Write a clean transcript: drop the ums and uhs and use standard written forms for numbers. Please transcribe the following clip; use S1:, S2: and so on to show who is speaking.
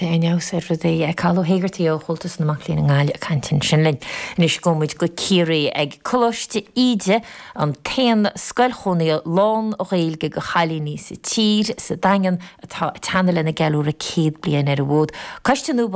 S1: Tiocfaidh aon fheabhas ar rudaí. Cathal Ó hÉigeartaigh ó Chomhaltas na Mac Léinn i nGaillimh ag caint ansin linn. Anois gabhfaidh muid go Ciarraí ag Coláiste Íde, an t-aon scoil chónaithe lán-Ghaeilge do chailíní sa tír, sa Daingean, atá ag teannadh lena gceiliúradh 100 bliain ar an bhfód. Coiste nua.